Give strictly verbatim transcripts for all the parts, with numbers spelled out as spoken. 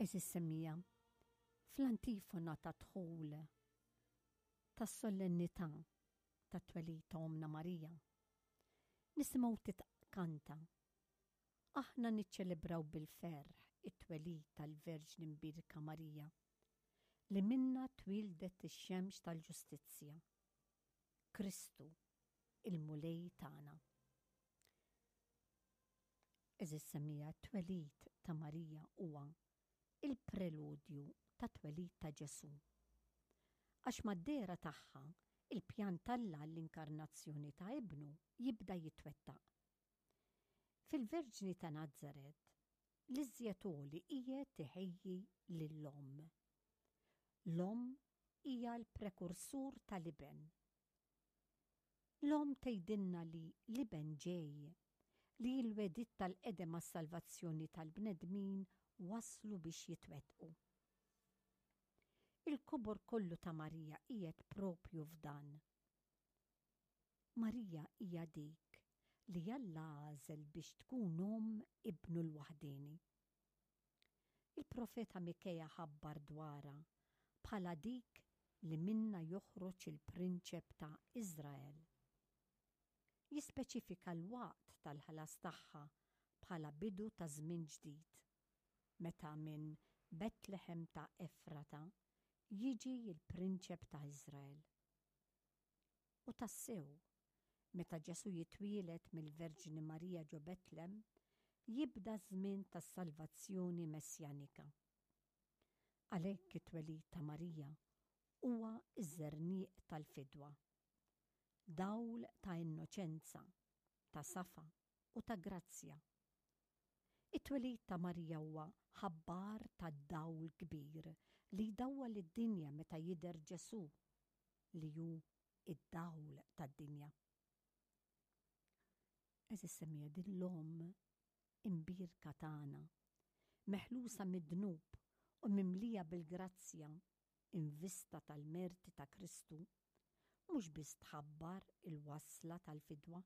Għeżież semmiegħa, fl-antifona ta' dħul tas-solennità tat-twelid ta' Ommna Marija, nisimgħu titkanta: "Aħna niċċelebraw bil-ferħ it-twelid tal-Verġni Mbierka Marija, li minna twieldet ix-xemx tal-ġustizzja, Kristu, il-Mulej tagħna." Għeżież semmiegħa, t-twelid ta' Marija huwa il-preludju tat-twelid ta' Ġesù. Għax mad-dehra tagħha, il-pjan t'Alla l-inkarnazzjoni ta' Ibnu jibda jitwettaq. Fil-Verġni ta' Nazaret, l-iżjed għoli qiegħed iħejji lill-omm. L-omm hija l-prekursur tal-iben. L-omm tgħidilna li l-iben ġej, li l-wegħdiet tal-qedem għas-salvazzjoni tal-bnedmin waslu biex jitwettqu. Il-kobor kollu ta' Marija qiegħed propju f'dan. Marija hija dik li Alla għażel biex tkun omm ibnu l-waħdieni. Il-profeta Mikeja ħabbar dwarha bħala dik li minna joħroġ il-prinċep ta' Iżrael. Jispeċifika l-waqt tal-ħlas tagħha bħala bidu ta' żmien ġdid, meta minn Betlehem ta' Efrata jiġi l-prinċep ta' Iżrael. U tassew, meta Ġesù jitwieled mill-Verġni Marija ġo Betlem, jibda żmien tas-salvazzjoni messjanika. Għalhekk it-twelid ta' Marija huwa ż-żerniq tal-fidwa. Dawl ta' innoċenza, ta' safa u ta' grazzja. It-twelid ta' Marija huwa ħabbar ta' dawl kbir li jdawwal id-dinja meta jidher Ġesù li hu id-dawl tad-dinja. Għeżież semmiegħa, din l-omm imbierka tagħna, meħlusa mid-dnub u mimlija bil-grazzja in vista tal-merti ta' Kristu, mhux biss tħabbar il-wasla tal-fidwa,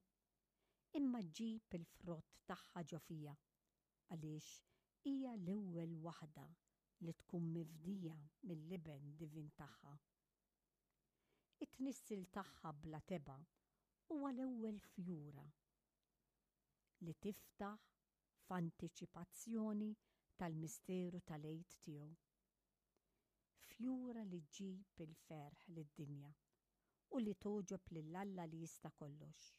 imma ġġib il-frott tagħha ġo fiha, għaliex hija l-ewwel waħda li tkun mifdija mill-iben divin tagħha. It-tnissil tagħha bla tebgħa huwa l-ewwel fjura li tiftaħ f'antiċipazzjoni tal-misteru tal-Għid tiegħu. Fjura li ġġib il-ferħ lid-dinja u li togħġob lil Alla li jista' kollox.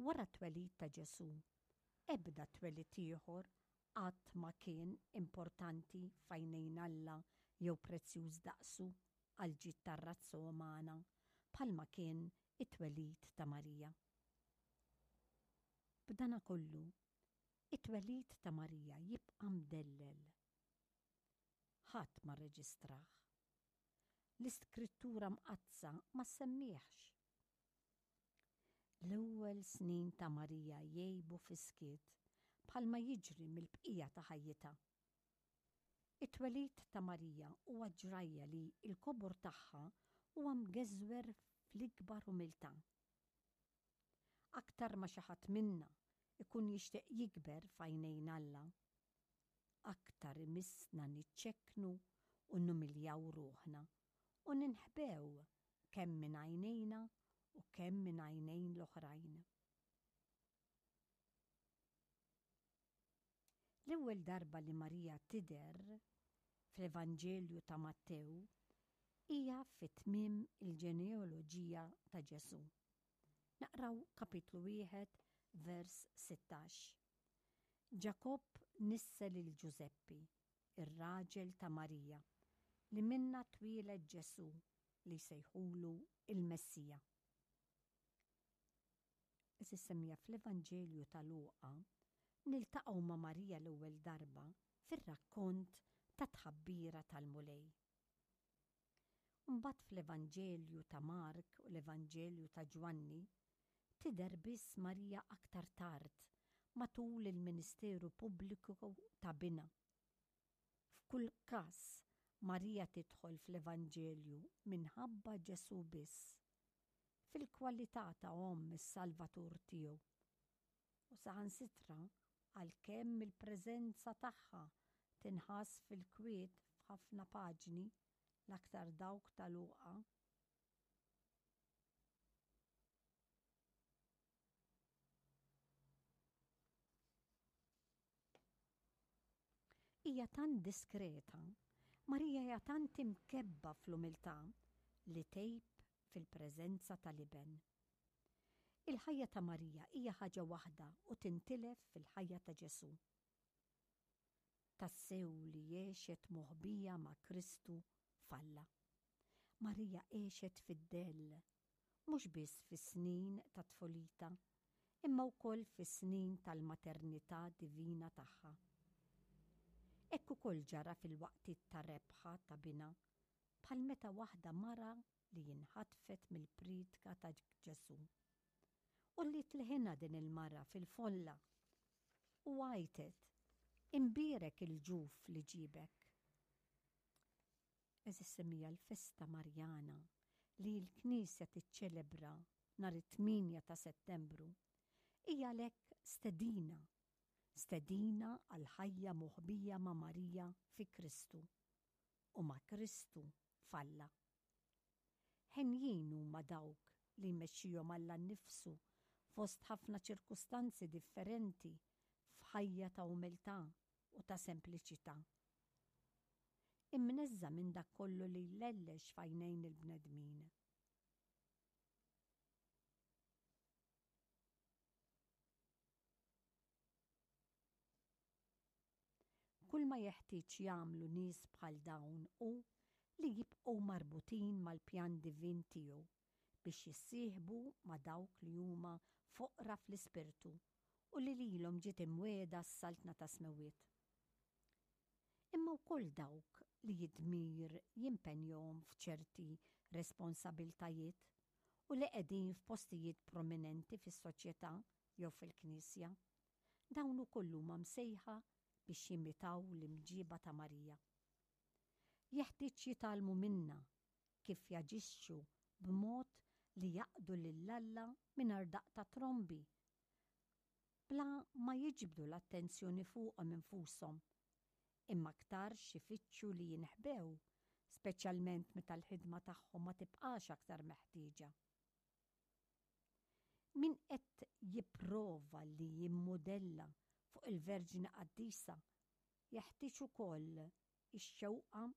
Wara t-twelid ta' Ġesù, ebda twelid ieħor qatt ma kien importanti f'għajnejn Alla jew prezzjuż daqsu għal ġid tar-razza umana bħalma kien it-twelid ta' Marija. B'dana kollu, it-twelid ta' Marija jibqa' mdellel. Ħadd ma rreġistrah. L-Iskrittura Mqaddsa ma semmihx. L-ewwel snin ta' Marija jgħibu fis-skiet bħalma jiġri mill-bqija ta' ħajjitha. It-twelid ta' Marija huwa ġrajja li l-kobor tagħha huwa mgeżwer fl-ikbar umiltà. Aktar ma xi ħadd minna ikun jixtieq jikber f'għajnejn Alla, aktar imissna niċċekknu u numiljaw ruħna u ninħbew kemm minn għajnejna u kemm minn għajnejn l-oħrajn. L-ewwel darba li Marija tidher fl-Evanġelju ta' Mattew hija fi tmiem il-ġenealoġija ta' Ġesù. Naqraw kapitlu wieħed vers sittax. Ġakobb nissel lil Ġużeppi, ir-raġel ta' Marija, li minnha twieled Ġesù li jsejħulu il-Messija. Għeżież semmiegħa, fl-Evanġelju ta' Luqa niltaqgħu ma' Marija l-ewwel darba fir-rakkont ta' tħabbira tal-Mulej. Mbagħad fl-Evanġelju ta' Mark u l-Evanġelju ta' Ġwanni tidher biss Marija aktar tard matul il-ministeru pubbliku ta' binha. F'kull każ, Marija tidħol fl-Evanġelju minħabba Ġesù biss, fil-kwalità ta' omm is-Salvatur tiegħu. U saħansitra għalkemm il-preżenza tagħha Tinħass fil-kwiet f'ħafna paġni, l-aktar dawk ta' Luqa. Hija tant diskreta, Marija hija tant imkebba fl-umiltà li tgħib fil-preżenza tal-Iben. Il-ħajja ta' Marija hija ħaġa waħda u tintilef fil-ħajja ta' Ġesù. Tassew li għexet moħbija ma' Kristu f'Alla. Marija għexet fid-dell, mhux biss fis-snin ta' tfulitha, imma wkoll fis-snin tal-maternità divina tagħha. Hekk ukoll ġara fil-waqtiet ta' rebħa ta' binha, bħal meta waħda mara li inħatfet mill-priedka ta' Ġesù. U li tleħinha din il-mara fil-folla u għajtet, imbierek il-ġuf li ġibek. Għeżież semmiegħa, l-festa Marjana li l-Knisja tiċċelebra nhar it-tmienja ta' Settembru hija għalhekk stedina, stedina għal ħajja moħbija ma' Marija fi Kristu u ma' Kristu f'Alla. Henjin huma dawk li jmexxihom Alla nnifsu fost ħafna ċirkustanzi differenti f'ħajja ta' umiltà u ta' sempliċità. Imneżża' minn dak kollu li jlellex f'għajnejn il-bnedmin. Kull ma jeħtieġ jagħmlu nies bħal dawn hu li jibqgħu marbutin mal-pjan divin tiegħu biex jissieħbu ma' dawk li huma foqra fl-ispirtu u li lilhom ġiet imwiegħda s-saltna tas-smewwiet. Imma wkoll dawk li d-dmir jimpenjahom f'ċerti responsabiltajiet u li qegħdin f'postijiet prominenti fis-soċjetà jew fil-Knisja, dawn ukoll huma msejħa biex jimitaw l-imġiba ta' Marija. Jeħtieġ jitgħallmu minnha kif jaġixxu b'mod li jaqdu lil Alla mingħajr daqq ta' trombi, bla ma jiġbdu l-attenzjoni fuqhom infushom, imma aktarx ifittxu li jinħbew, speċjalment meta l-ħidma tagħhom ma tibqax aktar meħtieġa. Min qed jipprova li jimmudella fuq il-Verġni Qaddisa jeħtieġ ukoll ix-xewqa